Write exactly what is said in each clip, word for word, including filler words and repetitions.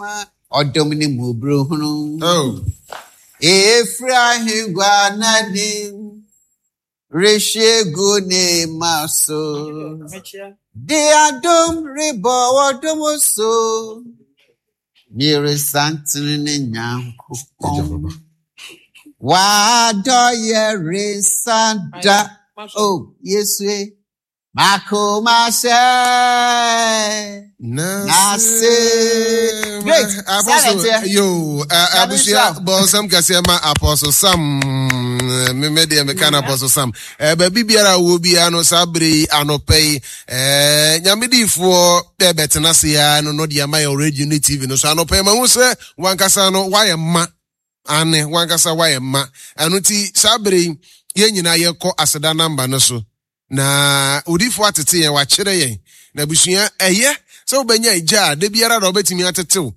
ma ɔdom ne mmɔborɔhunu. Oh. Efiri ahengua n'anim rehwie gu ne ma so. De adom rebɔ ɔdom so. Mmeresantene ne Nyankopɔn. W'adɔyɛ rensa da. Oh, Yesu e. Makoma hyɛ. Nase. Great. Apostle, Silent here. yo, uh, abusua bɔnsɛm kɛseɛ ma Apostle Sam. Meme deɛ meka no Apostle Sam. Eh, baabi biara a wɔ biara no, saa bere yi anɔpɛ yi, eh, Nyame diifoɔ bɛbɛtena ase ya no no deɛ ama yɛ radio ne T V no so anɔpɛ yi, mahu sɛ wankasa no wayɛ ma ane wankasa wayɛ ma. Ɛno nti saa bere yi yɛn nyinaa yɛkɔ aseda namba no so na odiifoɔ atete yɛn, wakyerɛ yɛn. Na abusua, ɛyɛ sɛ wobɛnya agya a da biara da wobɛtumi atetew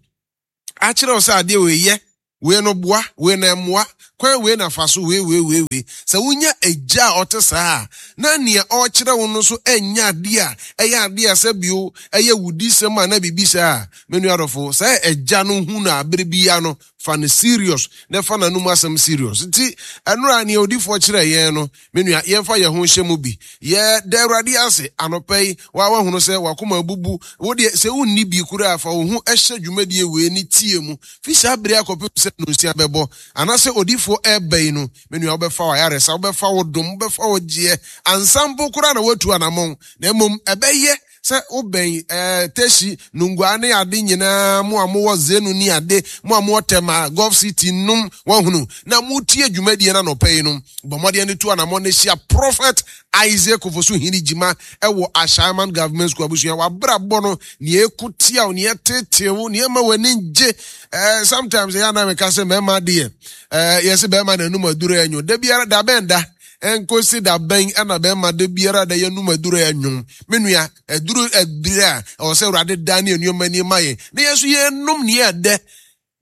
akyerɛ wo sɛ adeɛ wei yɛ, wei no boa, wei na ɛmmoa, kwan wei na fa so, wei wei wei wei. Sɛ wonya agya a ɔte saa a, na nea ɔrekyerɛ wo no nso ɛnyɛ adeɛ a ɛyɛ adeɛ a sɛ bio ɛyɛ wudisɛm a na biribi saa a, me nua adɔfo, sɛ agya no hu no abere biara no, fa no serious na fa n'anum asɛm serious. Nti ɛnora nea odiifoɔ kyerɛ yɛn no, me nua, yɛmfa yɛn ho nhyɛ mu bi. Yɛ da Awurade ase anɔpa yi. Wa wahunu sɛ wakoma abubu wo deɛ, sɛ wonni bi koraa, fa wo ho ɛhyɛ dwumadie wei ne tie mu fi saa bere akɔpem sɛ nonsia bɛbɔ anaasɛ odiifoɔ ɛreba yi no. Me nua, wobɛfa wo ayaresa, wobɛfa wo dom, wobɛfa wo gyeɛ ansa mpo koraa na woatu anammɔn. Na mmom ɛbɛyɛ sɛ wobɛn ɛɛ Teshie Nungua ne ade nyinaa, mo a mowɔ Zenu ne ade, mo a mowɔ Tema, Golf City nom, wahunu na motie dwumadie no anɔpa yi no, bɔ mmɔden no tu anammɔn no hyia Prophet Isaac Ofosu Hene Gyima ɛwɔ Ashaiman Government School. Abusua, wabrabɔ no nea ɛko tia wo, nea ɛtetee wo, nea ɛma w'ani gye. ɛɛ sometimes ɛyɛ anan meka sɛ mmarima deɛ, ɛɛ yɛsɛ bɛrima n'anum aduro ɛnwo da biara da bɛn da nkosi da bɛn ɛna bɛrima da biara da yɛnum aduro ɛnwo. Me nua, aduro aduro a ɛwɔ sɛ Awurade da ne nneɛma nneɛma yɛn na yɛn nso yɛnum nea ɛdɛ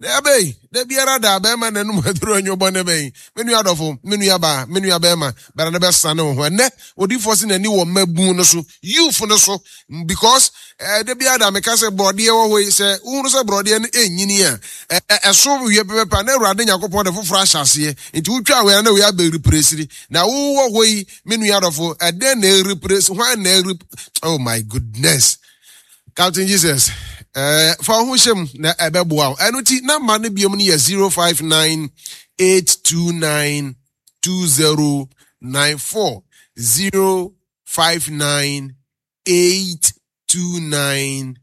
ɛbɛyi da biara da bɛrima n'anum aduro ɛnwo bɔ ne bɛn. Me nua adɔfo, me nua baa, me nua bɛrima bɛrɛ ne bɛsane wo ho. Ɛnɛ odiifoɔ si n'ani wɔ mmabun no so, youth no so, because ɛɛ da biara da meka sɛ borɔdeɛ wɔ hɔ yi, sɛ wohunu sɛ borɔdeɛ no ɛnyini a, ɛ ɛso wie pɛpɛpɛ na Awurade Nyankopɔn de foforɔ ahyɛ aseɛ. Nti wotwa wei na wei abɛ replace. Na wowɔ hɔ yi, me nua adɔfo, ɛdɛn na ɛreplace hwan na ɛre? Oh my goodness, Captain Jesus, ɛɛ fa wo ho hyɛ mu na ɛbɛboa wo. Ɛno ti namba no biom no yɛ zero five nine eight two nine two zero nine four, zero five nine eight two nine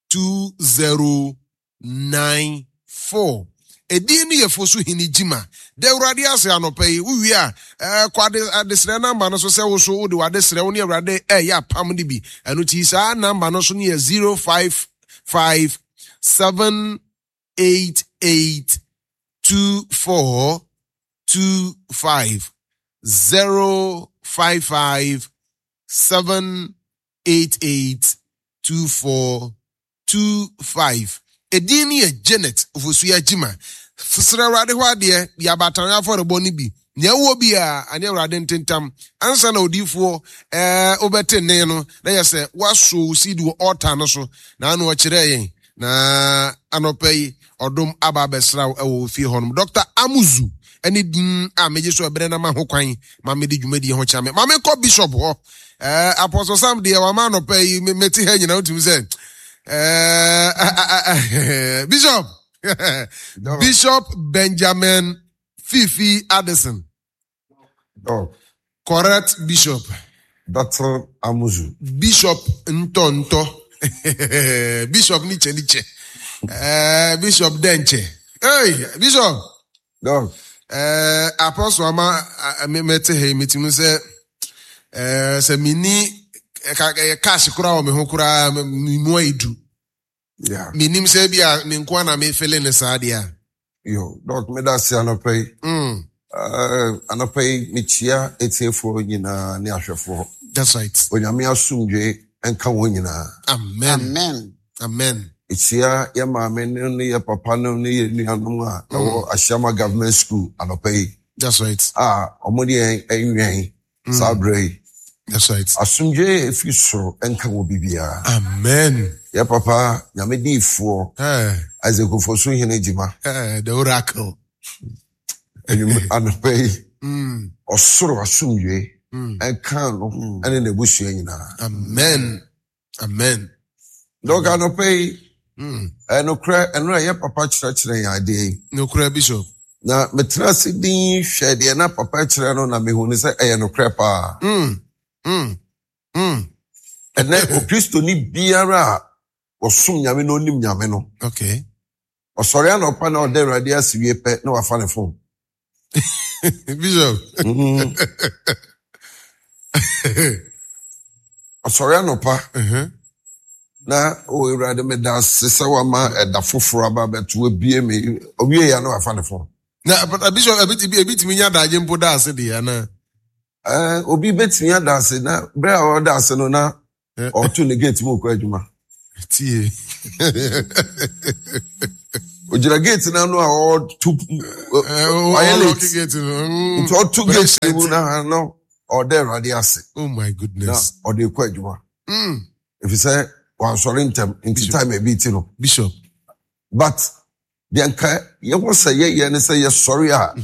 two zero nine four. Edin no yɛ Fosu Hene Gyima. Da Awurade ase anɔpa yi. Wowie a, ɛɛ kɔ ade adesrɛ namba no so sɛ wo so wode w'adesrɛ wo ne Awurade ɛyɛ apam no bi. Ɛno ti saa namba no so no yɛ zero five five seven eight eight two four two five, zero five five seven eight eight two four two five. Edin no yɛ Janet Ofosu Agyima. Srɛ Awurade hɔ adeɛ yɛ abatane afɔrebɔ no bi nea ɛwɔ bi a ane Awurade ntentam ansa na odiifoɔ ɛɛ wobɛte nne no na yɛ sɛ woaso wo seed wɔ altar no so na ano ɔkyerɛ yɛn. Na anɔpa yi ɔdom aba abɛsra wo ɛwɔ ofie hɔnom. Doctor Amuzu ɛne din a megye so ɛberɛ na ma ho kwan ma mede dwumadie ho kyerɛ me ma menkɔ Bishop hɔ. ɛɛ Apostle Sam deɛ, wama anɔpa yi me- mete ha nyina wotumi sɛ ɛɛ Bishop Bishop Benjamin Fifi Addison. Doc, Correct, Bishop. Doctor Amuzu. Bishop ntɔntɔ, Bishop nikyɛ nikyɛ, ɛɛ Bishop dɛnkyɛ. Hey Bishop. Doc, ɛɛ Apostle ama a- me mɛte ha yi, metumi sɛ ɛɛ sɛ mini ɛka ɛyɛ cash koraa wɔ me ho koraa, me me mu ayɛ du. yeah. Menim sɛ bi a me nko ana mefele ne saa deɛ a. Yo, Doc, meda ase anɔpa yi. mm, Uh, anɔpa yi, mekyia etiefoɔ nyinaa ne ahwɛfoɔ. That's right. Onyame asomdwe nka wɔn nyinaa. Amen. Amen. Amen. Mekyia yɛ maame no ne yɛ papa no ne yɛ nuanom a ɛwɔ Ashaiman Government School anɔpa yi That's right. a wɔn de yɛn nwɛn saa berɛ yi. That's right. Asomdwoe a ɛfiri soro nka wɔ biribiara. Amen. Yɛ papa Nyame diifoɔ Eh, Isaac Ofosu Hene Gyima. eh, the oracle. Anwum- Anɔpa yi, Mm, ɔsoro asomdwoe mm. ɛnka no ɛne n'abusua nyinaa. Amen. Amen. Dɔk anɔpa yi, Mm. ɛnokorɛ ɛno a yɛ papa kyerɛkyerɛ yɛn adeɛ yi. Nokorɛ Bishop. Na metena ase din hwɛ deɛ na papa kyerɛ no na mehu ne sɛ ɛyɛ nokorɛ paa. Mm, mm, mm. Ɛnɛ okristoni biara a ɔsom Nyame na onim Nyame no, Okay. ɔsɔre anɔpa na ɔda Awurade ase wie pɛ na wafa ne phone. Bishop. Mhm. Ɔsɔre anɔpa Uh-huh. na o Awurade meda ase sɛ wama ɛda foforɔ aba abɛto abie me owie ya na wafa ne phone. Na but, uh, Bishop, ebi ebi ebi tumi nya adagye mpo da ase deɛ ana. Ɛɛ, obi betumi ada ase na bere a ɔda ase no na Eh. ɔto ne gate mu kɔ adwuma. Tie. Ogyina gate n'ano a ɔto ɔyɛ late. Gate no. Mm. Nti ɔto gate no mu na na ɔda Awurade ase Oh my na goodness. ɔde kɔ adwuma. Mm. Efisɛ wansɔre ntɛm nti time ebi ti no. Bishop. But deɛ nka yɛwɔ sɛ yɛyɛ ne sɛ yɛsɔre a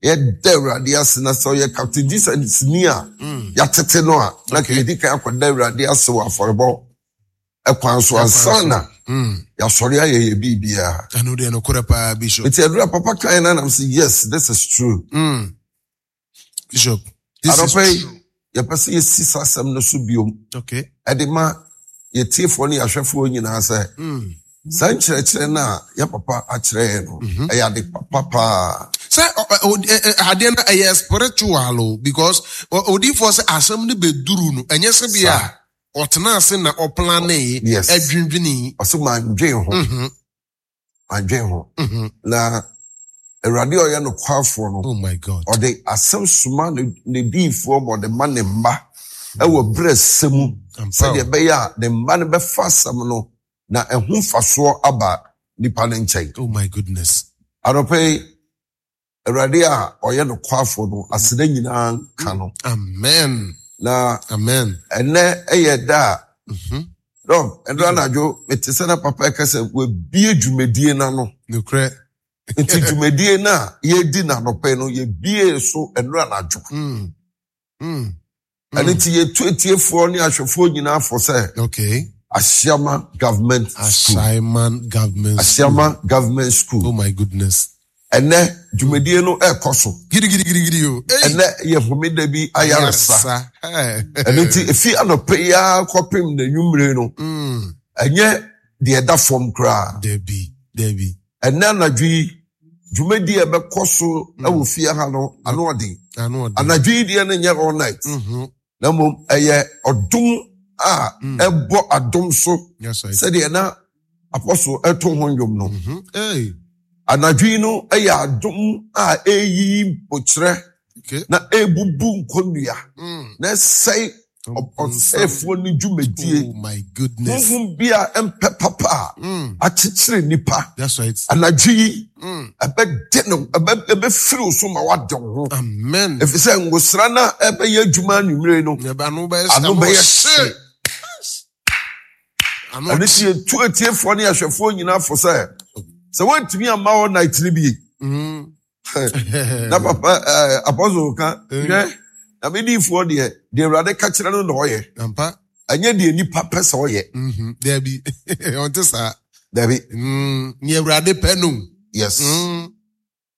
yɛda Awurade ase na sɛ ɔyɛ Captain Jesus ni a Mm. yɛatete no a na Okay. yɛdi kan akɔda Awurade ase wɔ afɔrebɔ ɛkwan so ansa na Mm. yɛasɔre ayɛ yɛ biribiara. Ɛno deɛ nokorɛ paa Bishop. Nti ɛduru a papa kan na nam sɛ yes this is true. Mm. Bishop. This is Anɔpa yi true. yɛpɛ sɛ yɛsi saa asɛm no so biom Okay. ɛde ma yɛtiefoɔ ne yɛahwɛfoɔ nyinaa sɛ Mm. saa nkyerɛkyerɛ no a yɛ papa akyerɛ yɛn no ɛyɛ ade papa paa. Sɛ ɔ- ɔ- ɔ- ɛ- ɛ- adeɛ no ɛyɛ spiritual o because ɔ- odiyifoɔ sɛ asɛm no bɛduru no ɛnyɛ sɛ bi a ɔtena ase na ɔplanee Yes. ɛdwendwenee. Ɔsɛ mandwen ho Mhm, mandwen ho mhm. na Awurade a ɔyɛ nokwafoɔ no Oh my God. ɔde asɛm soma ne ne diyifoɔ ma ɔde ma ne mma ɛwɔ berɛ sɛ mu Ampa sɛdeɛ o. ɛbɛyɛ a ne mma no bɛfa asɛm no na ɛho mfasoɔ aba nipa no nkyɛn. Oh my goodness. Anɔpa yi Awurade a ɔyɛ nokwafoɔ no aseda nyinaa nka no Amen. na Amen. ɛnɛ ɛyɛ da a Mhm. dɔm ɛdɔ anadwo mete sɛ na papa ɛka sɛ wabie dwumadie n'ano Nokorɛ. nti dwumadie no a yɛdi n'anɔpa yi no yɛbie so ɛnora anadwo Mm. Mm. ɛno nti yɛtu etiefoɔ ne ahwɛfoɔ nyinaa fo sɛ Okay. Asiama Government School Ashaiman Government School. Asiama Government School Oh my goodness. ɛnɛ dwumadie no ɛrekɔ so Gidi gidi gidi gidi o. Hey. ɛnɛ yɛ homeda bi ayaresa Hey. ɛno nti efi anɔpa yi ara kɔpem n'anwummere no Mm. ɛnyɛ deɛ ɛda fam koraa Debbie. Debbie. ɛnɛ anadwo yi dwumadie a ɛbɛkɔ so ɛwɔ fie ha no ano ɔden Ano ɔden. anadwo yi deɛ no nyɛ all night Mhm. na mmom ɛyɛ ɔdom a ɛbɔ adom so Yes, right. sɛdeɛ na apɔso ɛto ho nnwom no Mhm. Hey. anadwo yi no ɛyɛ adom a ɛreyiyi mpokyerɛ Okay. na ɛrebubu nkonnua Mm. na ɛsɛe ɔ- ɔsɛefoɔ no dwumadie Oh my goodness. honhom bi a ɛmpɛ papa a Mm. akyekyere nipa That's right. anadwo yi Mm. ɛbɛde no ɛbɛ ɛbɛfiri wo so ma woade wo ho Amen. ɛfiri sɛ ngosra no a ɛbɛyɛ adwuma anwummere no Yɛbɛ- Ano bɛyɛ ano bɛyɛ hye. hye Ano ɛno nti yɛtu atiefoɔ ne ahwɛfoɔ nyinaa fo sɛ sɛ woantumi amma all night no bi Mm. na papa ɛɛ apɔsol ka hwɛ na mediifoɔ deɛ deɛ Awurade ka kyerɛ no na ɔyɛ Ampa. ɛnyɛ deɛ nipa pɛ sɛ ɔyɛ Mhm. Debbie. Ɔnte saa. dabi Mm. Nea Awurade pɛ no. yes Mm.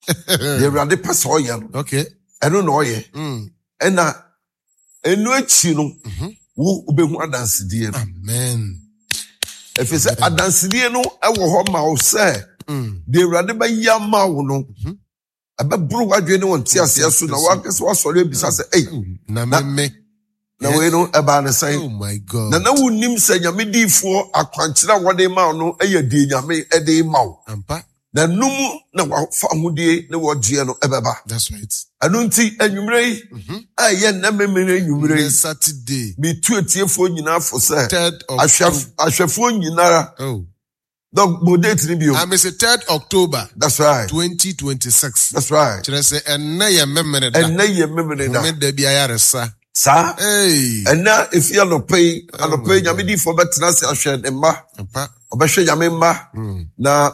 deɛ Awurade pɛ sɛ ɔyɛ no Okay. ɛno na ɔyɛ Mm. ɛna ɛno akyi no Mhm. wo wobɛhu adansedie no Amen. ɛfiri sɛ adansedie no ɛwɔ hɔ ma wo sɛ Mm. deɛ Awurade bɛyɛ ama wo no Mhm. ɛbɛboro w'adwene ne wo nteaseɛ so na woankasa woasɔre abisa sɛ ei Na Na- me me. na wei no ɛbaa ne sɛn Oh my God. na na wonnim sɛ nyame diifoɔ akwankyerɛ a wɔde ma wo no ɛyɛ deɛ nyame de ma wo Ampa. na no mu na wafa ahodie ne wɔgyeɛ no ɛbɛba That's right. ɛno nti anwummerɛ yi Mhm. a ɛyɛ nnɛ memene anwummerɛ yi This Saturday, metu atiefoɔ nyinaa fo sɛ third ahwɛ- October. ahwɛfoɔ nyinara Oh. dɔk mo date no bio I miss it third October that's right twenty twenty-six. that's right Kyerɛ sɛ ɛnnɛ yɛ memene da. ɛnnɛ yɛ memene da Homeda bi ayaresa. Saa. Hey. Ɛna efi anɔpa yi, anɔpa yi Oh. Nyame diifoɔ bɛtena ase ahwɛ ne mma, Ampa. ɔbɛhwɛ Nyame mma Mm. na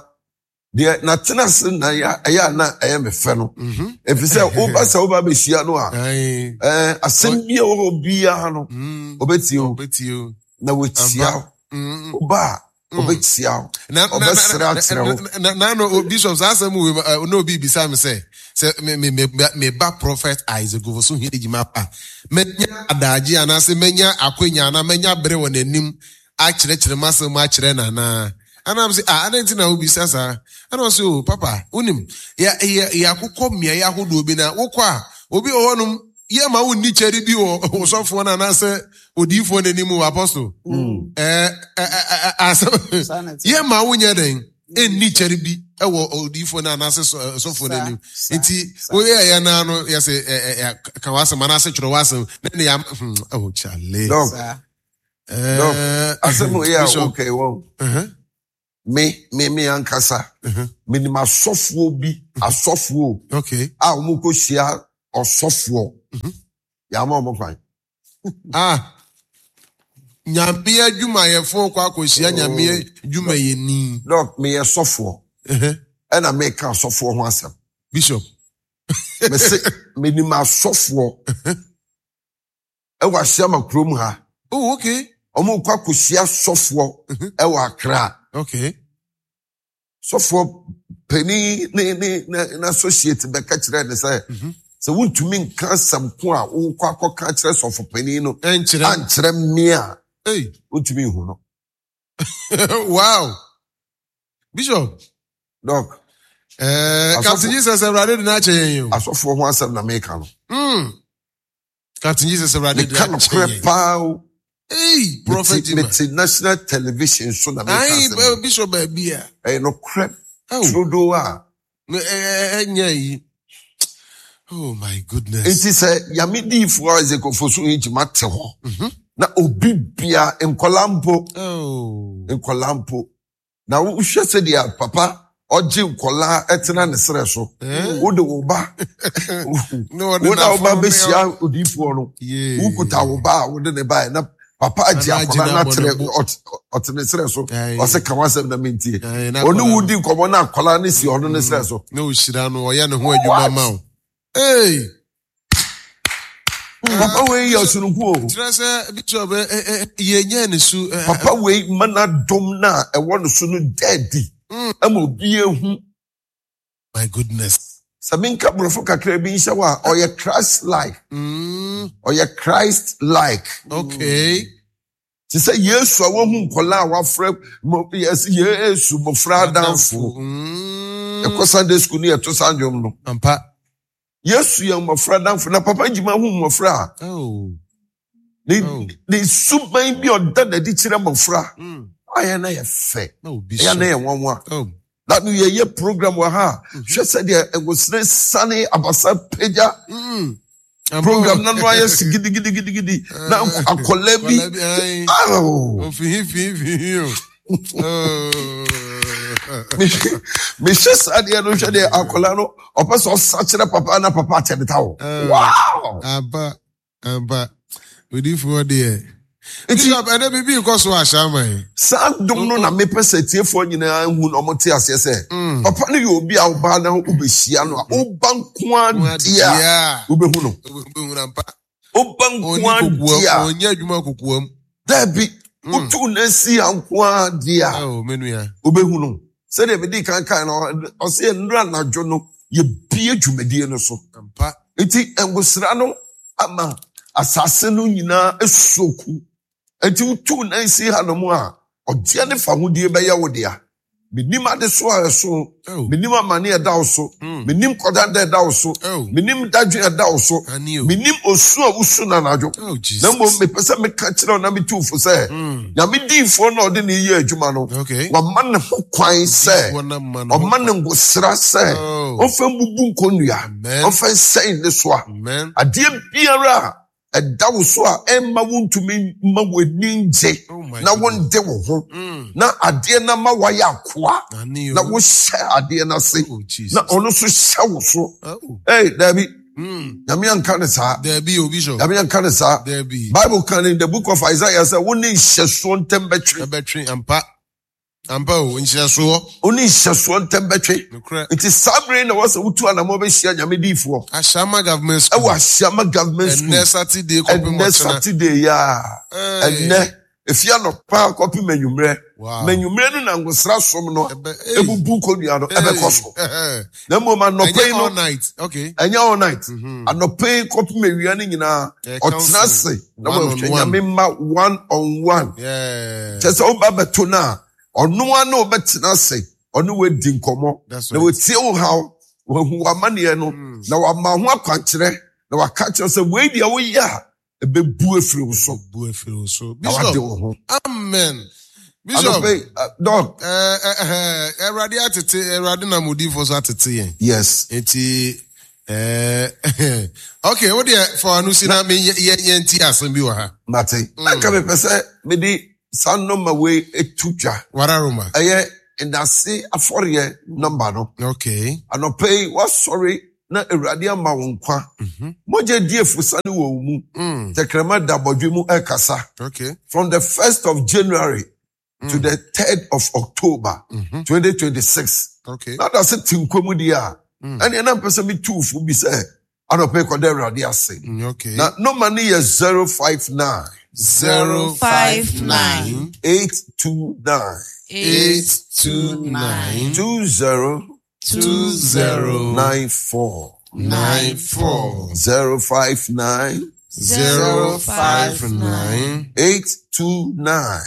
deɛ n'atena ase na ɛyɛ ɛyɛ a na ɛyɛ me fɛ no. Mhm. Ɛfiri sɛ woba sɛ woba abɛhyia no a, Aye. ɛɛ, asɛm bi a ɛwɔ hɔ biara no, Mm. ɔbɛtie wo Ɔbɛtie o. na watia wo. Mm. Woba a, ɔbɛtia wo. Na- na- na- Ɔbɛsrɛ akyerɛ wo. na- na- na no Bishop, saa asɛm wei eh, na obi bisa me sɛ sɛ me me me me ba Prophet Isaac Ofosu Gyimah pa mɛnya adagye anaasɛ mɛnya akwanya anaa mɛnya bere wɔ n'anim akyerɛkyerɛ m'asɛm akyerɛ no anaa? Anam sɛ, ah, adɛn nti na wobisa saa? Ɛna ɔsɛ, o papa, wonim yɛ yɛ yɛakokɔ mmeaeɛ ahodoɔ bi na wokɔ a, obi wɔ hɔnom yɛ ma wonni kyɛre bi wɔ ɔsɔfoɔ no anaasɛ odiyifoɔ no anim wɔ apostle. Mm. ɛɛ ɛ ɛ ɛ asɛm Saa na ɛte. yɛ ma wonyɛ dɛn ɛnni kyɛre bi ɛwɔ odiyifoɔ no anaasɛ sɔ- ɛ, sɔfoɔ no anim. Saa, Nti saa. woyɛ ɛyɛ naa no, yɛsɛ ɛ ɛ ɛ ka w'asɛm anaasɛ twerɛ w'asɛm na ne yɛ hmm oh chale. Doc, Saa. ɛɛ asɛm wei a Bishop. woka yi wɔn. ɛhɛn, Me, me, me ankasa, ɛhɛn, menim asɔfoɔ bi, asɔfoɔ okay a wɔn kɔhyia ɔsɔfoɔ. Mhm. Yɛama wɔn kwan. Ah, Nyame adwumayɛfoɔ kɔ akɔhyia Nyame adwumayɛni. Doc, meyɛ sɔfoɔ, Ɛhɛn, ɛna meka asɔfoɔ ho asɛm. Bishop. Mese, menim asɔfoɔ ɛwɔ Ahyiama kurom ha. Oh, okay. Wɔn kɔ akɔhyia sɔfoɔ Mhm. ɛwɔ Accra. Okay Sɔfoɔ panin ne ne ne n'associate bɛka kyerɛ ne sɛ, Mhm. sɛ wontumi nka asɛm ko a wokɔ akɔka kyerɛ sɔfo panin no ɛnkyerɛ ankyerɛ mmea a, hey wontumi nhu no. Wow, Bishop. Doc, ɛɛ Asɔfo- Captain Jesus, Awurade de n'akyɛ yɛn yi o. asɔfoɔ ho asɛm na meka no. Mm. Captain Jesus, Awurade de Meka akyɛ nokorɛ yɛn. paa o. Hey, Prophet Mete Jima. mete national television so na meka Ayi asɛm no. Bishop, baabi a Ɛyɛ nokorɛ oh turodoo a. ɛnyɛ yi, oh my goodness. Nti sɛ Nyame diifoɔ Isaac Ofosu Gyimah te hɔ Mhm. na obi bia, nkɔla mpo, oh nkɔla mpo, na wohwɛ sɛdeɛ papa ɔgye nkɔla ɛtena ne serɛ so, Eh? wode wo ba, Na ɔde wo na wo ba n'afɔm bɛhyia odiifoɔ no, Yee. wokuta wo ba a wode ne ba na papa agye Anaa agye akɔla no no abɔ akyerɛ ne bo. ɔt- ɔte ne serɛ so, Aye. ɔsɛ ka w'asɛm na mentie. Aye, na Ɔne akɔla wo no di nkɔmmɔ na akɔla no si ɔno ne serɛ so. Na ohyira no, ɔyɛ ne ho adwuma ma wo. Hey! Papa wei yɛ ɔsoronko o. Kyerɛ sɛ Bishop, ɛ ɛ ɛ yɛnyɛ ne su ɛ, ɛ, Papa wei ma n'adom no a ɛwɔ no so no daadi Mm. ama obi ehu. My goodness. Sɛ menka borɔfo kakra bi nhyɛ wo a, ɔyɛ Christ like. mm, Ɔyɛ Christ like. Okay te sɛ Yesu a wahu nkɔla a wafrɛ mo- yɛs- Yesu mmɔfra adamfo. Mm. Ɛkɔ Sunday school no, yɛto saa nnwom no. Ampa. Yesu yɛ mmɔfra adamfo, na Papa Gyima hu mmɔfra a, oh ne Oh. ne suban bi a ɔda n'adi kyerɛ mmɔfra mm. ayɛ na yɛ fɛ, Na obi ɛyɛ so na yɛ nwanwa. Oh na no yɛyɛ program wɔ ha a, hwɛ sɛdeɛ ɛwosere sane abasa pagya. mm. Ampa. Program na no ayɛ si gidigidigidigidi na akɔla bi Akɔla bi, aye. Aw! Ofihi fihi fihi o. Oh. Mehwɛ saa deɛ no, hwɛ deɛ akɔla no ɔpɛ sɛ ɔsa kyerɛ papa na papa akyɛ ne ta wo. Eh. Wow! Aba aba, odiifoɔ deɛ. Nti Bishop, ɛnɛ biribi nkɔ so ahyɛ ama yi. Saa dom no na mepɛ sɛ tiefoɔ nyinaa hu na ɔmote aseɛ sɛ Mm. papa no yɛ obi a wobaa na wobɛhyia no a, woba nko a deɛ a, Deɛ wobɛhu no. wobɛhu ampa. Woba nko Ɔnni a kokoam, deɛ a, ɔnyɛ adwuma kokoam. Daabi, Mm. wotu no asi a nko a deɛ a, Oh, me nua. wobɛhu no. Sɛdeɛ mede kan kan no, ɔsɛ nnura anadwo no yɛbie dwumadie no so. Ampa. Nti ngosra no ama asase no nyinaa esoku, nti wotu nan si hanom a, ɔgyeɛ ne fahodie bɛyɛ wo dea. Menim ade so a ɛso, Oh. menim amane a ɛda wo so, Mm. menim kɔdanda a ɛda wo so, Oh. menim dadwen a ɛda wo so, Ani o. menim osu a wosu no anadwo. Oh, Jesus. Na mmom mepɛ sɛ meka kyerɛ wo na metu fo sɛ Mm. Nyame diifoɔ na ɔde ne yɛ adwuma no, Okay. wama ne ho kwan sɛ Diifoɔ na ma no ho ɔma ne ngosra sɛ Oh. ɔmfa mbubu nkonnua, Amen. ɔmfa nsɛn ne so a Amen. adeɛ biara a ɛda wo so a ɛmma wontumi mma w'ani ngye Oh my na goodness. wonde wo ho Mm. na adeɛ no ma woayɛ akoa Ani o. na wohyɛ adeɛ no ase Oh, Jesus. na ɔno nso hyɛ wo so. Oh. Ei, daabi, Nyame anka ne saa. Dabi o, Bishop. Nyame anka ne saa. Dabi. Bible kan in the book of Isaiah sɛ wo ne nhyɛsoɔ ntɛm bɛtwe. Ɛbɛtwe ampa. Ampa o, nhyɛsoɔ. Wo ne nhyɛsoɔ ntɛm bɛtwe. Nokorɛ. Nti saa bere na wɔsɛ wotu anammɔ bɛhyia Nyame diifoɔ. Ashama Government School. Ɛwɔ Ashama Government School. Ɛnnɛ Saturday kɔpem Ɛnnɛ ɔkyena. Saturday yi a. Hey. Ɛnnɛ efi anɔpa kɔpem anwummerɛ. Wow. Ma anwummerɛ no na ngosra som no Ɛbɛ- hey. ebubu kɔnnua no ɛbɛkɔ so. Hey. Na mmom anɔpa Ɛnyɛ yi no all night. Okay. ɛnyɛ all night. Anɔpa yi kɔpem awia no nyinaa Yeah, ɔtena counseling. ase na One on wɔhwɛ one. Nyame mma one on one. Yeah. Kyerɛ sɛ woba bɛto no a ɔno ara na wobɛtena ase ɔne woadi nkɔmmɔ That's na right. wɔtie wo haw wahu w'amanneɛ no na wama ho akwankyerɛ na waka kyerɛ sɛ wei deɛ woyɛ a ɛbɛbu afiri wo so Bu afiri wo so. na wade Bishop. wo ho. Amen. Bishop. Anɔpa yi, uh, Doc. Eh, eh, eh, Awurade atete, Awurade nam odiyifoɔ so atete yɛn. Yes. Nti, eh, okay, wo deɛ fa w'ano si na me yɛ yɛnti asɛm bi wɔ ha. Mate. Na nka mepɛ sɛ mede saa nɔma wei etu dwa. Wararoma. Ɛyɛ ndase afɔreɛ nɔmba no. Okay. Anɔpa yi, wasɔre na Awurade ama wo nkwa. Mogya di efusane wɔ wo mu. Mm. Tɛkrɛma da bɔdwe mu ɛkasa. Okay. From the first of January to the third of October, twenty twenty-six. Okay. Na da se te nkwa mu deɛ a, ɛnneɛ na mpɛ sɛ metu fo bi sɛ anɔpa yi kɔda Awurade ase. Mm, okay. Na nɔma no yɛ zero five nine. Zero five nine. eight two nine. eight two nine. two zero two zero nine four. nine four. zero five nine. zero five nine. eight two nine.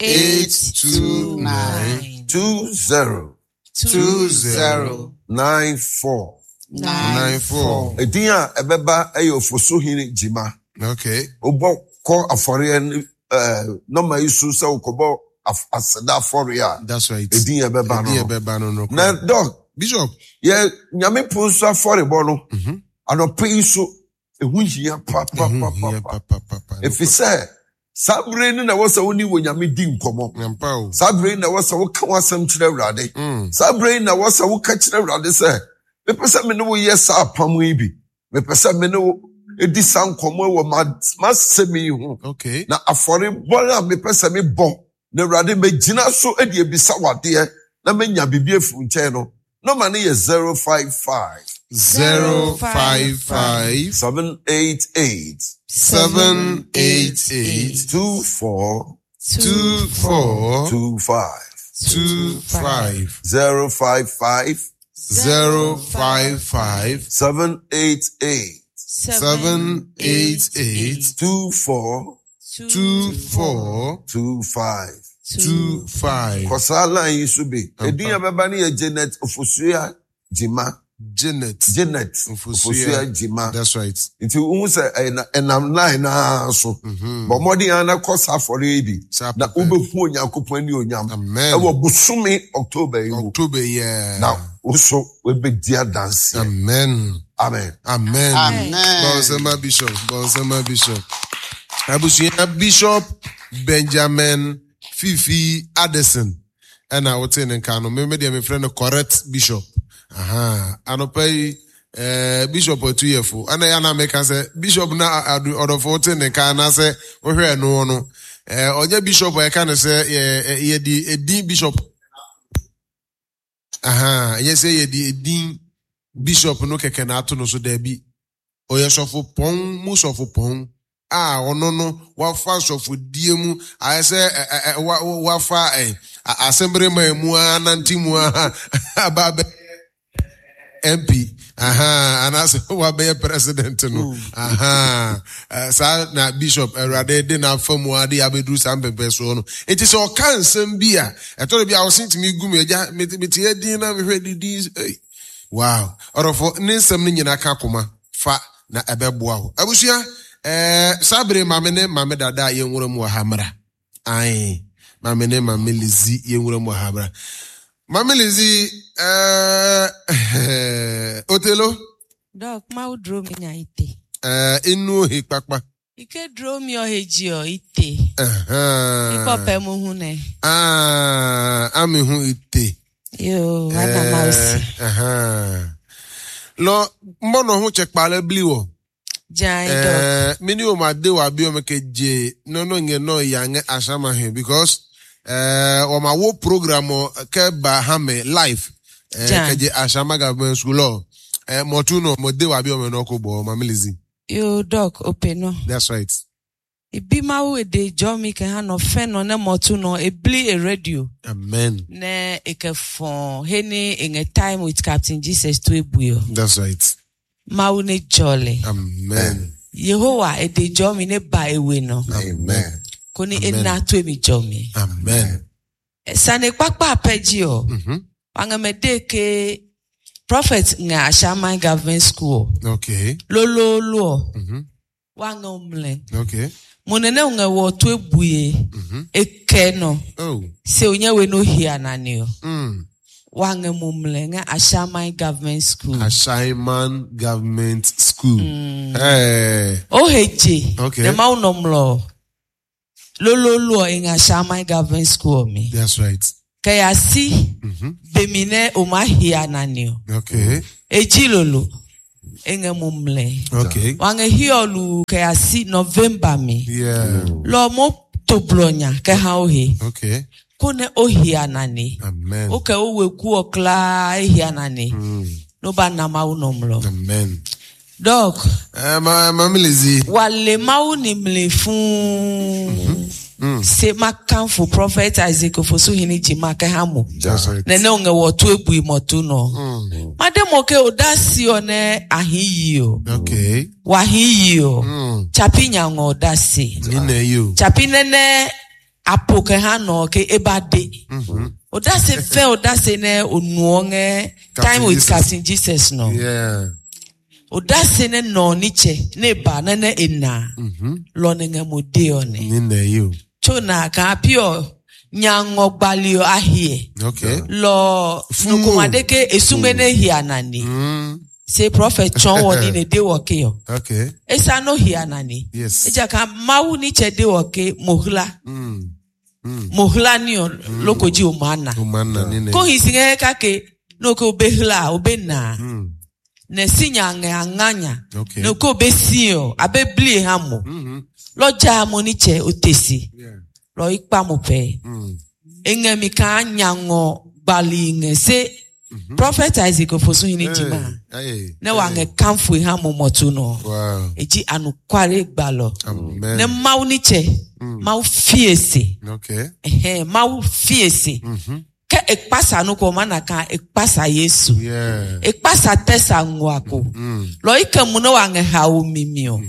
eight two nine. two zero two zero nine four. nine four. Edin a ɛbɛba ɛyɛ Ofosuhene Gyima. Okay. Wobɔ kɔ afɔreɛ no, eh, nɔma yi so sɛ wokɔbɔ af- aseda afɔreɛ a, That's right. edin a ɛbɛba Edin no. a ɛbɛba no no. Na Doc, Bishop. yɛ Nyame pon so afɔrebɔ no, anɔpa yi so, ɛho hia pa, pa, pa, pa, pa. Pa, pa, pa, pa. Ɛfiri sɛ, saa bere no na ɛwɔ sɛ wo ne wɔ Nyame di nkɔmmɔ. Nyampa o. Saa bere na ɛwɔ sɛ woka w'asɛm kyerɛ Awurade. Saa bere na ɛwɔ sɛ woka kyerɛ Awurade sɛ, mepɛ sɛ me ne wo yɛ saa apam yi bi. Mepɛ sɛ me ne wo edi saa nkɔmmɔ wɔ ma-, m'asɛm yi ho. Okay. Na afɔrebɔ a mepɛ sɛ mebɔ, na Awurade megyina so de ebisa w'adeɛ, na menya biribi afiri wo nkyɛn no. Nɔma no yɛ zero five five. Zero five five. Seven eight eight. Seven eight eight. Two four. Two four. Two five. Two five. Zero five five. Zero five five. Seven eight eight. Seven eight eight. Two four. Two four. Two five. Two five. Kɔsaa line yi so bi. Edin a bɛba no yɛ Janet Ofosua Gyima. Janet. Janet Ofosua. Ofosua Gyima. That's right. Nti wohu sɛ ɛna-, ɛnam line naa so. Bɔ mmɔden ara na kɔ saa afɔre yi bi. Saa Na pɛpɛ. wobɛhu Onyankopɔn ani onyam. Amen. Ɛwɔ bosome October yi mu. October, yeah. Na wo so wobɛdi adanseɛ. Amen. Amen. Amen. Amen. Bɔnsɛma Bishop. Bɔnsɛma Bishop. Abusua Bishop Benjamin Fifi Addison. Ɛna wote ne nka no. Me me deɛ mefrɛ no correct Bishop. Aha. Anɔpa yi, eh, Bishop Otuyefo. Ɛna yɛ na meka sɛ Bishop na adu ɔdɔfo wote ne nka anaasɛ wohwɛ no no. Eh, ɔnyɛ Bishop a yɛka no sɛ, yɛ, yɛ, yɛde edin Bishop. Aha. Ɛnyɛ sɛ yɛde edin Bishop no kɛkɛ na ato no so daabi. Ɔyɛ sɔfo pɔn mu sɔfo pɔn. A ɔno no wafa sɔfodie mu ayɛ sɛ, ɛ, ɛ, ɛ, wa, wa, wafa, ɛ, a, asɛmbere man mu a, nante mu a, aba abɛyɛ M P. Aha, anaasɛ wabɛyɛ president no. Aha. Ɛ, saa na Bishop Awurade de n'afa mu ade abɛduru saa mpɛmpɛsoɔ no. Enti sɛ ɔka nsɛm bi a, ɛtɔ da bi a ɔse ntumi gu mu, agya, mete, mete adin na mehwɛ didi, ei. Wow. Ɔdɔfo, ne nsɛm no nyinaa ka koma fa na ɛbɛboa wo. Abusua, eh, saa bere maame ne maame dada a yɛnwura mu wɔ ha mmra. Ae, maame ne maame Lizzy yɛnwura mu wɔ ha mmra. Maame Lizzy, eh, Otelo? Doc, ma wo duro mi nya ite. Eh, inu ohi kpakpa. Ike duro mi ohe ji o ite. Aha. Iko pe mu hu ne. Ah, ami hu ite. Yo, ana mausi. Eh, aha. Lɔ mbɔnɔ ho tse kpa le bli wɔ. Jai dok. Eh, mini o ma de wa bi o me ke je no no nge no ya nge asama he because eh o ma wo program o ke ba ha me live eh Jan. ke je asama government school o eh mo tu no mo de wa bi o me no ko bo ma milizi. Yo dok open no. That's right. Ibi mawu ede jɔ mi ke hã nɔ fɛn nɔ ne mɔtu nɔ ebli e radio. Amen. Ne eke fɔn he ni eŋe time with Captain Jesus to ebui o. That's right. Mawu ne jɔ le. Amen. Yehowa ede jɔ mi ne ba ewe nɔ. Amen. Ko ni Amen. ena to emi jɔ mi. Amen. Sane kpakpa apɛdzi o. Mhm. Aŋɛmɛ de ke prophet ŋa Ashaiman government school. Okay. Lololo o. Mhm. Wa ŋa omlɛ. Okay. Mo nene ŋa wɔ to ebuye. Mhm. Eke nɔ. Oh. Se onye we no hia nani o. Mm. Wa ŋa mo mlɛ ŋa Ashaiman government school. Ashaiman Government School. Hey. Oheje. Okay. Ne ma wonɔ mlɔ. Lololo ŋa Ashaiman government school mi. That's right. Kɛyasi Mhm. bemi ne o ma hia nani o. Okay. Edzi lolo. Eŋe mo mlɛ. Okay. Waŋe hiɔlu kɛyasi November mi. Yeah. Lɔ mo to blɔnya kɛ hã ohe. Okay. Ko ne o hia nani. Amen. O kɛ o weku ɔkla ehia nani. Mm. No ba na mawu nɔ mlɔ. Amen. Dɔk. Uh, ma, ma Milizi. Wale mawu ni mle fún. Se ma kanfo prophet Isaac Ofosuhene jima kɛ hã mo. That's right. Nene ŋe wɔ to ebui mɔtu nɔ. Mm. Made mo ke o da si o ne ahi yi o. Okay. Wahi yi o. Mm. Chapi nyaŋɔ o da si. Nina you. Chapi nene apo ke hã nɔ ke eba de. Mm-hmm. O da se fɛ o da se ne o nuɔ ŋe time with Jesus. Captain Jesus nɔ. Yeah. O da se ne nɔ ni tse ne ba nene ena. Mm-hmm. Lɔ ne ŋe mo de o ne. Nina you. Tso na kan api nyaŋɔ gbali o ahie. Okay. Lɔ Fún o. nukumade ke esume ne hia nani. Mm. Se prophet tsɔn wɔ ni ne de wɔ ke yɔ. Okay. Esa no hia nani. Yes. Edza kan mawu ni tse de wɔ ke mohla. Mm. Mm. Mohla ni o lokodzi o ma na. Umana nina. Ko hisi ŋe kake no ke o be hla o be na. Mm. Ne si nya ŋe aŋanya. Okay. Ne ke o be si o abe bli hã mo. Mm-hmm. Lɔdza mo ni tse o te si. Yeah. Lɔ ikpa mo pɛ. Mm. Eŋe mi kan nyaŋɔ gbali ŋe se prophet Isaac Ofosuhene jima. Hey. Ne wa ŋe kanfo hã mo mɔtu nɔ. Wow. Edzi anukware gbalɔ. Amen. Ne mawu ni tse mawu fie se. Okay. Ɛhɛn mawu fie se. Mm-hmm. Ke ekpasa nu ko mana kan ekpasa Yesu. Yeah. Ekpasa tɛsa ŋua ko. Mm. Lɔ ike mu ne wa ŋe ha wo mimi o.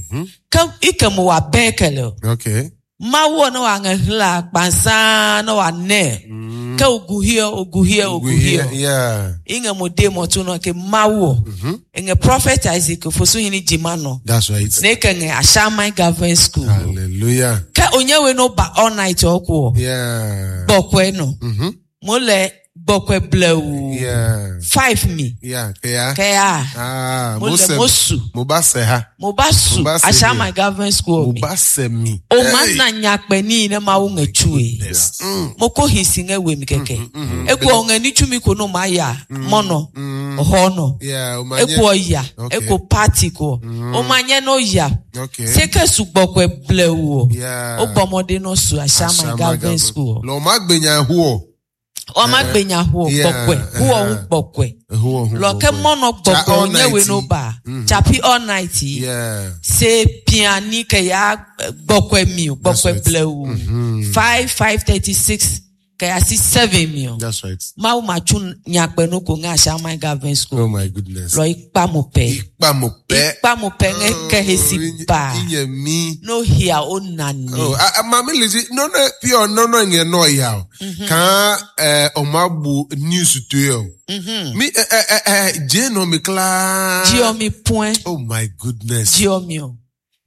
Ke ike mu wa bɛn kele o. Okay. Mawu ne wa ŋe hla kpansa ne wa nɛ. Mm. Ke ogu hie ogu hie ogu hie. Yeah. Iŋe mo de mɔtu nɔ ke mawu o. Mm-hmm. Eŋe prophet Isaac Ofosuhene jima nɔ. That's right. Ne ke ŋe Ashaiman government school. Hallelujah. Ke onye we no ba all night ɔkɔ o. Yeah. Gbɔkɔe nɔ. Mm-hmm. Mo le gbɔkɔe blewu. Yeah. Five mi. Yeah. Yeah. Kɛya. Ah, Mo le Mose. mo su. Mo ba se ha. Mo ba su Mo ba se Ashaiman government school mi. Mo ba se mi. O ma na nyakpɛ ni ne ma wo ŋe tsu ye. Yes. Mm. Mo ko hisi ŋe we mi kɛkɛ. Eku ɔŋe ni tsu mi ko no ma ya mɔnɔ. Ɔhɔ nɔ. Yeah. O ma Eku nye. ɔya. Okay. Eku party ko. O ma nye no ya. Okay. Se ke su gbɔkɔe blewu o. Yeah. O bɔmɔden nɔ su Ashaiman government school. Lọ ma gbenya hu O ma gbenya hu o Yeah. gbɔkɔe. Hu ɔhu gbɔkɔe. o. Hu o. Lɔkɛ mɔnɔ Tsa gbɔgbɔ all onye we night. no ba. Chapi all night yi. Yeah. Se piani ke ya gbɔkɔe mi o That's gbɔkɔe right. blewu. Five five thirty six ke ya si seven mi o. That's right. Mawu ma tsu nyakpɛ no ko ŋa Ashaiman government school. Oh my goodness. Lɔ ikpa mo pɛ. Ikpa mo pe. Ikpa mo pɛ ŋe kɛ hesi ba. Inye mi. No hia o nani. Oh, ah, ah, Mami Lizzy, no no pure no no nge no ya. o. Kan eh o ma bu news to yo. Mi eh eh eh eh je no mi kla. Dziɔ mi point. Oh my goodness. Dziɔ mi o.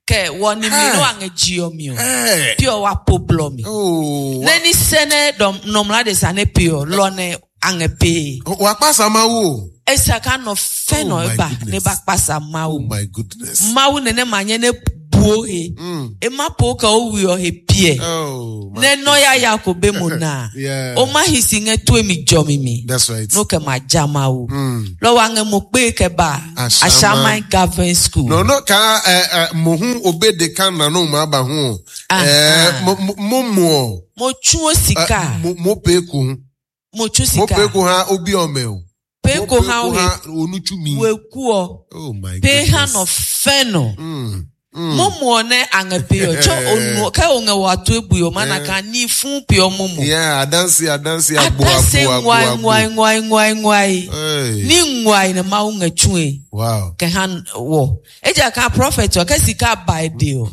Kɛ wɔni mi Hey. no aŋe dziɔ mi o. Eh. Pure wa po blɔ mi. Oh. Ne ni sene dɔm nɔmla de sa ne pure lɔ ne aŋe pee. Wa pa sama wo. Esa ka nɔ fɛn Oh nɔ my eba goodness. ne ba kpasa Oh mawu. my goodness. Mawu nene ma nye ne buo he Mm. ema po ka o wuyɔ he pie Oh, my- ne nɔ ya ya ko be mo na Yeah. o ma hisi ŋe to mi jɔ mi mi That's right. no ke ma jama o Mm. lɔwɔ aŋe mo kpe ke ba Ashama. Ashama Government School. No, no, ka eh, eh, mo hu obe de kan na no ma ba ho. Ah, Eh, ah. mo mo- mo mo. Mo tún o sika Eh, mo mo pe ko ho. mo tún Mo pe sika ko ha obi ome o. pe Mo ko ha o he ha onuchu mi. weku ọ Oh my pe ha goodness. nɔ fɛn nɔ. Mm. Mm. Mo mu ne aŋe pe yɔ tsɔ onu ke oŋe wa to ebu yɔ mana ka ni fún pe yɔ mo mu. Yeah, adansi adansi agbo Atase agbo agbo ŋuai agbo. ŋuai ŋuai ŋuai ŋuai Hey. ni ŋuai ne mawu ŋe tsue Wow. ke hã wɔ edza ka prophet wɔ ke sika ba de o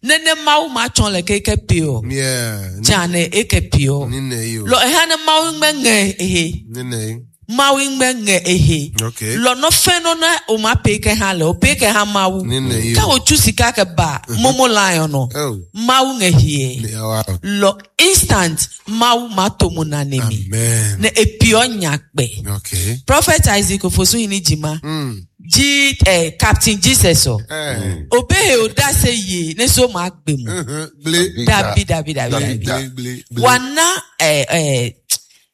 nene mawu ma tsɔ le keke pe o Yeah. dza ne eke pe o Ni ne yo. lɔ eha ne mawu ŋgbe ŋe ehe Ni ne. mawu ŋgbe ŋe ehe Okay. lɔ nɔfɛn nɔ ne o ma pe ke hã le o pe ke hã mawu Ni ne yo. ke o tsu sika ke ba momo lion nɔ Oh. mawu ŋe hie Yeah, wow. lɔ instant mawu ma to mo na ne mi Amen. ne epiɔ nya kpɛ. Okay. Prophet Isaac Ofosuhini Jima Mm. ji eh, Captain Jesus o. Eh. Obehe o da se ye ne so ma gbe mu. Mhm. Ble. Dabi dabi dabi Dabi, dabi. Ble ble ble. Wa na eh, eh,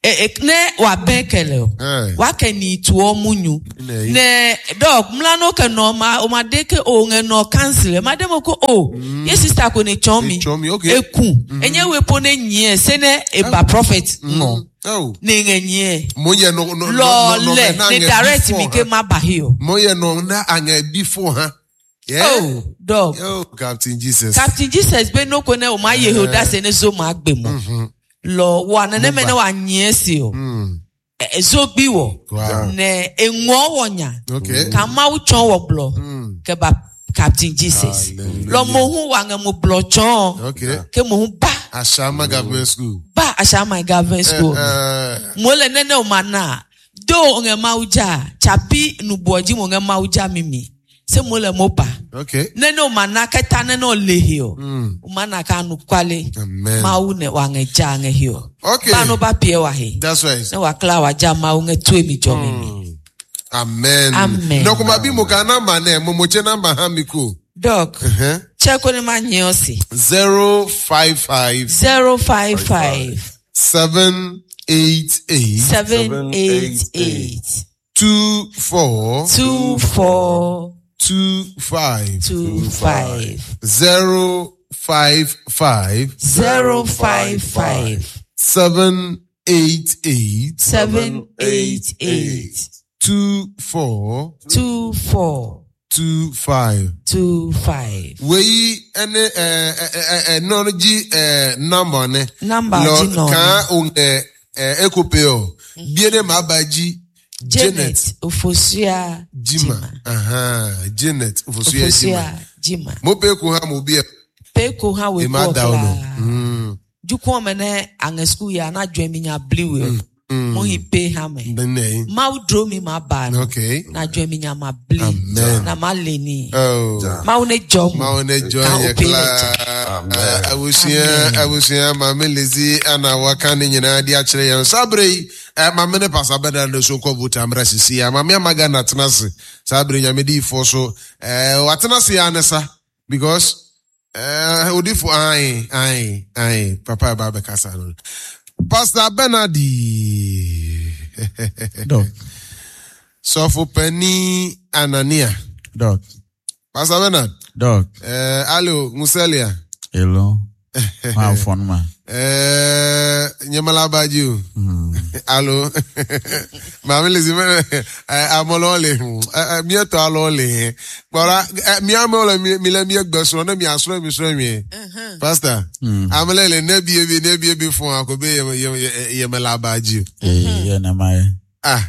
eh, eh, ne wa bɛn kɛlɛ o. Eh. Wa kɛ ni tuɔ mu nyu. Ne. Ne dɔk mlano ke nɔ ma o ma de ke o ŋe nɔ council ma de mo ko o ye sister ko ne tsɔn mi. Tsɔ mi, okay. Eku enye wepo ne nyie se ne eba prophet ŋɔ. Oh. Ne ŋe nyie. Mo yɛ no no no no no Lɔlɛ na ne ŋɛ direct before, mi ke ha. ma ba hi o. Mo yɛ no na aŋɛ before ha. Yeah. Oh, dog. Oh, Captain Jesus. Captain Jesus be no ko ne o ma ye ho da se ne zo ma gbe mo. Lọ wa ne ne me ne wa nyie si o. Mm. E- e Zo gbi wo. Wow. Ne enwo wo nya. Okay. Ka ma wo chon wo blo. Mm. Ke ba Captain Jesus. Hallelujah. Lọ mo hu wa nge mo blo chon. Okay. Ke mo hu ba Ashama Government School. ba Ashama Government School. Eh, Mo le ne ne o ma na. Do nge ma uja. Chapi nubuoji mo nge ma uja mimi. Se mo le mo ba. okay. Nene o ma na keta nene o lehi o. Mm. O ma na ka nu kwale. Amen. Mawu ne wa nge ja nge hi o. Okay. Ba no ba pie wa he. That's right. Ne wa kla wa ja mawu nge tue mi jo mi mi. Amen. Amen. No kuma bi mo ka namba ne mo mo che namba ha mi ko. Doc, Uh-huh. check on ma nye osi. Zero five five Zero five five seven eight eight seven eight eight two four two four two five two five zero five five zero five five seven eight eight seven eight eight two four two four two five. two five. Wei ɛne ɛɛ ɛɛ ɛnɔ gyi ɛɛ namba ne. Number Lɔ gyi nɔ ne. kan o ɛ ɛ ekope o. Bie ne ma ba gyi Janet Janet Ofosua Jima. Ahan, Janet Ofosua Jima. Ofosua Jima. Mo pe ko ha mo bi ɛ. Peko ha we Ema ko da o no. kla. Mm. Jukun me ne ange school ya na dwe mi nya bliwe. Mo hi pe ha me. Bene yi. Ma wo dro mi ma ba no. Okay. Na dwe mi nya ma bli. Amen. Na ma le ni. Oh. Ma wo ne jo mu. Ma wo ne join Ka yɛ o pe ne kla. Amen. Abusua abusua maame Lizzy ana waka ne nyinaa de akyerɛ yɛn. Saa bere yi eh, maame ne pasa bɛda no so kɔ vote amra sisi ya. Maame amaga na tena ase. Saa bere nyame diifoɔ so eh, watena ase ya ne sa because eh, odifo ae ae ae papa ɛba abɛkasa no. Pastor Bernard. Doc, Sɔfo panin Anania. Doc, Pastor Bernard. Doc, Eh, alo Muselia. hello. Ma phone ma. Eh, nyemala baji o. Alo. Maame Lizzy mɛ eh, amɔlɔ le hu. Eh, eh, mietɔ alɔ le he. Kpɔra eh, miame le mi mi le mie gbe srɔ̃ ne mia srɔ̃ mi srɔ̃ mie. Pastor. Amele le ne bie bi ne bie bi fún ako be yeme yeme yemela baji o. Eh, ye na mai. Ah.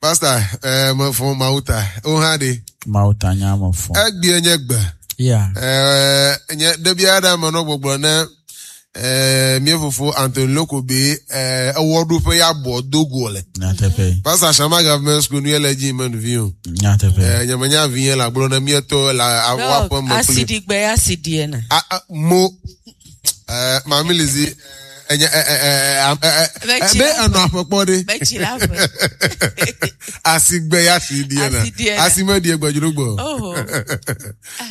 Pastor, eh, me fún mawuta. O hã de. Ma utanya ma phone. Egbie nye gbe. Yeah. Eh, nye ɖevi aɖe me nɔ gbɔgblɔ ne eh, mía fofo Anthony Loko be eh, ewɔɖoƒe ya bɔ do go le. Nyatepe. Pastor Shama Government School nu ye le dzi me nuvi o. Nyatepe. Eh, nye menya vi ye le agblɔ ne míetɔ le awoa Doc, ƒe me kpli. asidi gbe asidi na. A- a- Mo eh, Mami Lizzy Ɛnyɛ ɛ ɛ ɛ ɛ Bɛkyi ɛ be la ɛnɔ aƒekpɔ de. Bɛkyi la ƒe. Asigbe ya si die na. Asi die na. Asime die gbɛdzro gbɔ. Oho.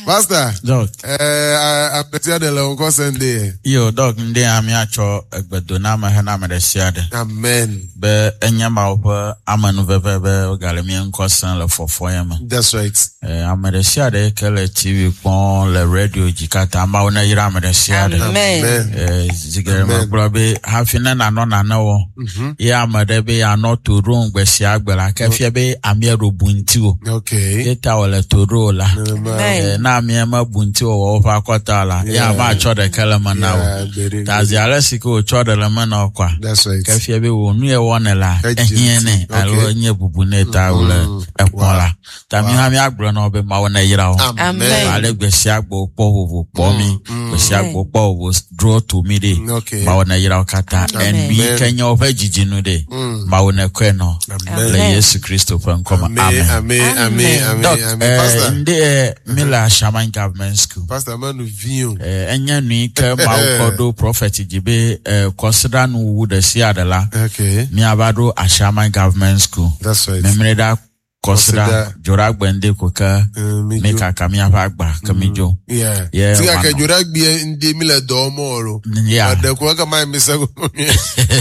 Pastor. Doc. Ɛɛ ametia de le ŋkɔ sɛn de yɛ. Yo, Doc, ŋde ya míatsɔ egbedoname hena ame ɖe sia ɖe. Amen. Be enye Mawu ƒe amenuveve be wogale mía ŋkɔ sem le fɔfɔ ya me. That's right. Eh, ame ɖe sia ɖe ke le T V kpɔm le radio dzi katã, Mawu ne yra ame ɖe sia ɖe. Amen. Amen. Eh, zi geɖe Amen. megblɔ be hafi ne nanɔ nane wɔm, ye ame ɖe be yeanɔ to ɖom gbe sia gbe la, ke fia be amea ɖo bu ŋutiwò. Okay. Ye ta wòle to ɖo la. Nenema. Amen. Eh, ne amea mebu ŋutiwò wɔ woƒe akɔta o la, ye Yeah. matsɔ ɖeke le me na wò. Yeah, gbere. Ta zi ale si ke wòtsɔ ɖe le me na wò kɔa, That's right. ke fia be wò nu ye wɔnɛ la, Edzi ehiã nɛ ŋuti. alo Okay. enye bubu nɛ ta wòle ekpɔ la. Ta mi hã míagblɔ na wo be Mawu ne yra wo. Amen. Ale gbe sia gbe wokpɔ vovo kpɔ mi, gbe sia gbe wokpɔ vovo dro to mi ɖe. Okay. Mawu ne yra wo katã. Amen. Enu yi ke nye woƒe dzidzinu ɖe. Mawu ne kɔe nɔ. Amen. Le Yesu Kristo ƒe ŋkɔ me. Amen. Amen. Amen. Amen. Amen. Doc, Amen. eh, Pastor. ŋde eh, mi le Ashaiman Government School. Pastor menu vi o. Eh, enye nu yi ke Mawu kɔ ɖo prophet dzi be eh, kɔsiɖa nuwuwu ɖe sia ɖe la, Okay. míava ɖo Ashaiman Government School. That's right. Memre ɖa kɔsiɖa Kɔsiɖa. dzoɖagbe ŋde ko ke Eh, mi mi dzo. kaka míaƒe agba ke mi dzo. Yeah. Yeah, Ti ake wano. dzora gbie ŋdi mi le dɔ wɔm o lo. Yeah. Ɛɖe ko eke ma mi se ko mi.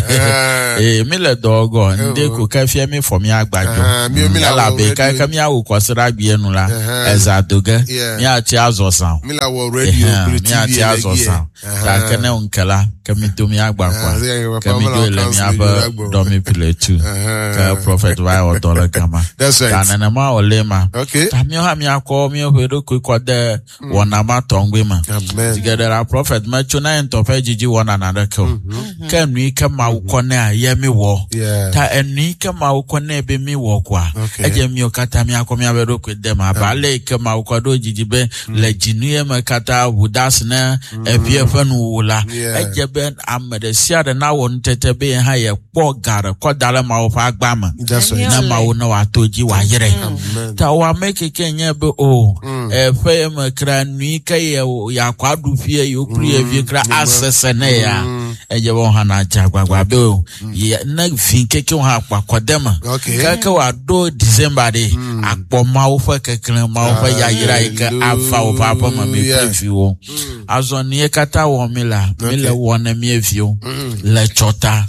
Eh, Ee, mi le dɔ gɔ ŋde ko ke fia mi fɔ mía agba dzo. Ah, mi- mi le Elabe awɔ ke radio. ke míawu kɔsiɖa gbie nu la, Ɛhɛn. eza do ge, Yeah. míatsi azɔ zã o. Mi le awɔ radio Ɛhɛn, kple T V míatsi le azɔ gie. zã o. Gake ne ŋke la, ke mi do mía agba Ah, kɔa, se ke ke papa mi me dzo le le council míaƒe dzoɖa gbɔ. dɔmi piletu. Ɛhɛn. Ke prophet va wɔ dɔ le gama. That's Ta right. nenema wòle ma. Okay. Ta míawo hã míakɔ míaƒe ɖokui kɔ de wɔna ma tɔŋgbe me. Amen. Zi geɖe la prophet metso na ye ŋutɔ ƒe dzidzi wɔna naneke o. Ke nu yi ke Mawu kɔ nɛa, ye mi wɔ. Yeah. Ta enu yi ke Mawu kɔ nɛ be mi wɔ koa, Okay. edze míawo katã míakɔ míaƒe ɖokui de me abe ale yi ke Mawu kɔ ɖo dzidzi be le dzinu ye me katã ʋu da asi ne evie ƒe nuwuwu la, Yeah. edze be ame ɖe sia ɖe nawɔ nutete be ye hã yekpɔ ga ɖe kɔ da ɖe Mawu ƒe agba me. That's right. Ne Mawu ne wòato dzi wòayrɛ. Amen. Ta wò ame keke nye be o eƒe ye me kra nui ke ye yakɔ aɖu fie yewo kple ye vie kra asese ne ya edze be wo hã nadze agbagba be o ye ne vi keke wo hã akpɔ akɔde me Okay. keke wòaɖo December ɖe akpɔ Mawu ƒe keklẽ, Mawu ƒe yayra yi ke ava woƒe aƒe me mi kple Hallelujah. viwo. Azɔ nu ye katã wɔm mi la, mi le wɔ ne mía viwo le tsɔta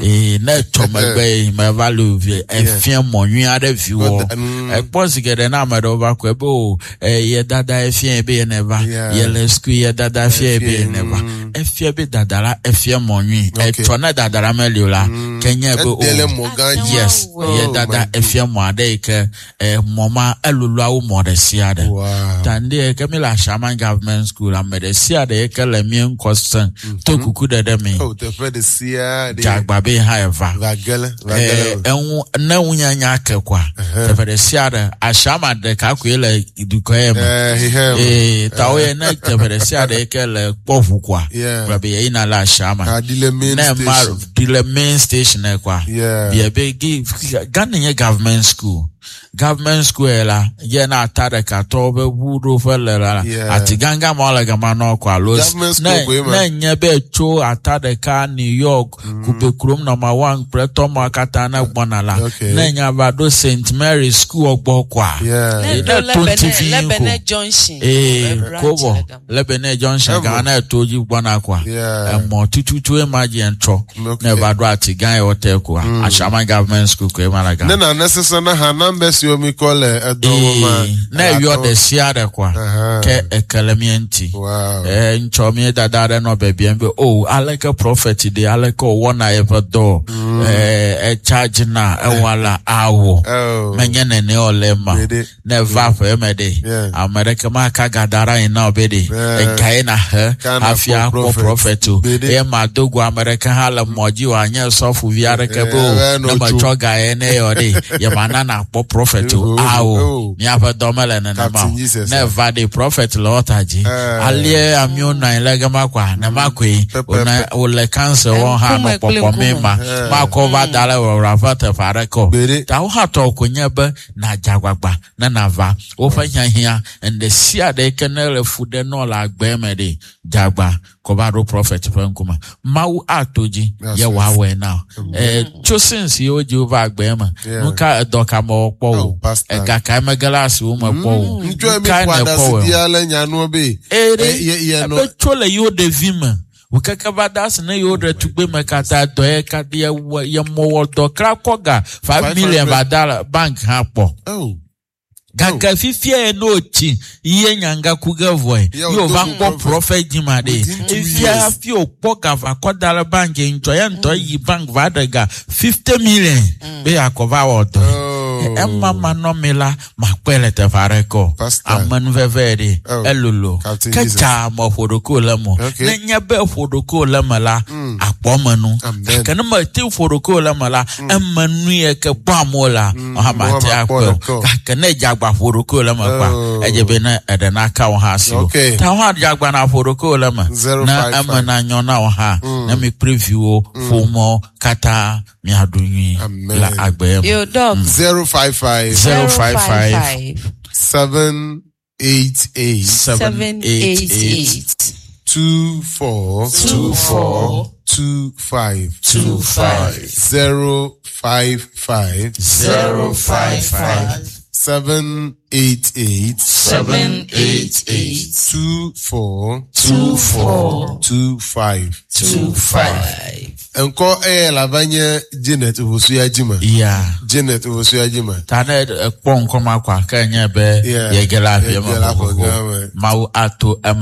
ee ne tsɔ megbe yi meva le vi efia mɔ nyui aɖe viwo. Mm. Ekpɔ zi geɖe na ame ɖewo va kɔe be o e, ye dada efia be ye ne va Yeah. ye le sukuu ye dada efia be ye ne va efia be dada la efia mɔ nyui. Okay. Etsɔ ne dada la meli o la, ke nye be o Ede le mɔ gã dzi. yes Wow. ye Oh dada my efia mɔ aɖe yi ke e, mɔ ma eloloawo mɔ ɖe sia ɖe. Wow. Ta ŋdi yi ke mi le Ashaiman Government School, ame ɖe sia ɖe yi ke le mía ŋkɔ sẽ to kuku ɖe ɖe mi Oh, teƒe ɖe sia ɖe. dze be hã eva. Va gele. Va Eh, gele. eŋu ne ŋunyanya ke koa, teƒe ɖe sia ɖe Ashaiman ɖeka koe le dukɔ ye me. Eh, hihem. Ee, tawo ye ne teƒe ɖe sia ɖe yi ke le kpɔ ʋu koa, Yeah. gblɔ be yeyina le Ashaiman. Adi le main Ne ma station. di le main station ne koa, Yeah. bia be gi Ghana nye government school. Government school ye la, ye na ata ɖeka tɔwo be ʋu ɖoƒe le la, Yeah. ati gãgã ma le gama nɔ kɔ alo Government school ne koe ma. ne nye be tso ata ɖeka New York, Kube kurom number one kple tɔmɔ katã ne gbɔna la, Okay. ne nya va ɖo Saint Mary School gbɔ koa, Yeah. Ne Ne ɖo to ŋuti fi Lebene ko. Junction. Ee, Branch kobɔ le gama. Lebene Junction Ɛvɔ. gama ne to dzi gbɔna koa, Yeah. emɔ tututu ema dzi ŋtsɔ Okay. ne va ɖo ati gã yi wote koa, Ashaiman Government School koe ma le Ne gama. nane sesẽ na hã namba siwo mi kɔ le edɔ wɔ ma. Ee, ne eyɔ ɖe sia ɖe koa, Aha. ke ekele mía ŋuti. Wow. Ee, ŋtsɔ mía dada aɖe nɔ bebiam be o aleke prophet ɖe aleke wòwɔna yeƒe dɔ ee etsa na ewɔ la awɔ Oh. menye nene wòle ma Gbede. ne va ƒe me ɖe Yeah. ame ɖeke maka ga da ɖe anyi na wò be ɖe Yeah. ega ye nahe Ka na hafi kpɔ akpɔ prophet. prophet o Gbede. eye mado go ame ɖeke hã le mɔ dzi wòanye sɔfuvi aɖeke be o Yeah, ne no metsɔ ga ye ne yɔ ɖe yemana nakpɔ prophet o. Oh, Awo oh. miaƒe dɔ mele nenema Captain o. Jesus, Ne eh. va ɖe prophet le ɔta dzi. Eh. Alie amewo nɔ anyi le gama kɔa nema koe Pɛpɛpɛ. wònɔ wòle cancer wɔm hã nɔ Ŋkume kple kpɔkpɔ mi ŋkume. ma. Eh. Makɔ va da ɖe wɔwɔra ƒe teƒe aɖeke o. Gbeɖe. Ta wo hã tɔ ko nye be nàdze agbagba ne nàva woƒe hiahiã ŋɖe sia ɖe ke ne le fu ɖe nɔ le agbe me ɖe dze agba kɔ va ɖo prophet ƒe ŋkume. Mawu ato dzi That's ye right. wòawɔe na wo. Eh, tso since yi wodzi wova agbe me Yeah. nu ka edɔ ka mewɔ kpɔ Oh, o pastor. ega kae mege le asiwo me kpɔ o Ŋutsu mi nu kae ƒo nèkpɔ aɖasi wɔ di ale nyanuwo be. Ere Eh, ye- ye nɔ- ebe tso le yewo ɖevi me wòkeke va da asi ne yewo ɖetugbe me katã dɔ ye katã ye wɔ ye mɔwɔ dɔ kra kɔ ga five Five million hundred. va da le bank hã kpɔ Oh. gake fifia ye ne wòtsi ye nyanga ku ge vɔe Ye ye wòdo wòva go kpɔ prophet. prophet dzima ɖe Within two efia years. hafi wòkpɔ ga va kɔ da le bank ŋutɔ ye ŋutɔ yi bank va ɖe ga fifty million be yeakɔ va wɔ dɔ Oh. ema manɔmi la makpɔe le teƒe aɖeke o Pastor. amenuveve ɖe Oh. elolo Captain ke Jesus. tsa me ƒo ɖokuiwò le me o. Okay. ne nye be ƒo ɖokuiwò le me la akpɔ me nu Amen. gake ne mete ƒo ɖokuiwò le me la eme nu ye ke kpɔ amewo la wohã mate Wohã akpɔe makpɔ o ɖeke o. gake ne edze agba ƒo ɖokuiwò le me kpa Oh. edze be ne eɖe naka wò hã si o Okay. ta wohã dze agba na ƒo ɖokuiwò le me Zero ne five eme five. nanyɔ na wò hã ne mi kple viwo ƒomewo katã miaɖu nyui Amen. le agbe me. Yo, dog. Zero five five Zero five five seven eight eight Seven eight eight two four two four two five two five zero five five zero five five seven eight eight seven eight eight two four two four two five. two five. Nkɔ ɛyɛ lavanye Janet Ofosu Ajima. Yeah. Janet Ofosu Ajima. Ta ne ekpɔ ŋkɔma kɔ ake nye be Yeah. yege le aƒe me Yege le aƒe xoxoxo. me. Mawu ato eme.